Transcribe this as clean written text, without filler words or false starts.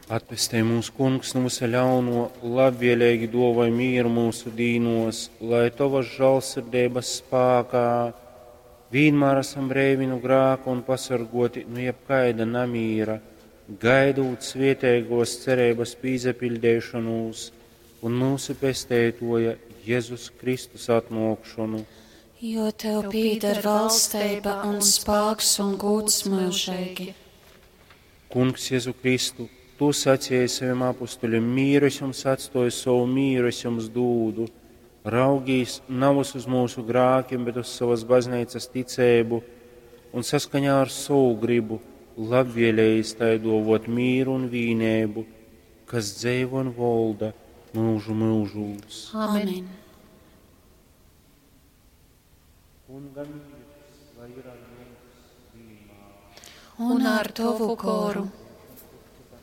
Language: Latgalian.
Atpestej mūs, Kungs, nu vysa ļauno, labvieleigi duovoj mīru myusu dīnuos, lai Tovas žālsirdeibas spākā vīnmār asam breivi nu grāka un pasorguoti nu jebkaida namīra, gaidūt svieteigōs cereibas pīsapiļdeišonūs un myusu Pesteituoja Jezus Kristus atnuokšonu. Jo tev pīder valsteiba un spāks un gūds myužeigi. Kungs Jezu Kristu, Tu sacēji savim apustuļim, mīru es jums atstoju, sovu mīru es jums dūdu. Raugīs navys uz mūsu grākiem, bet uz savas bazneicas ticēbu un saskaņā ar sovu gribu labvēlējis tai dovot mīru un vīnēbu, kas dzeivo un volda mūžu mūžūs. Amen. Kunga mīrs, lai ir ar jums vienmēr. Un ar tovu goru.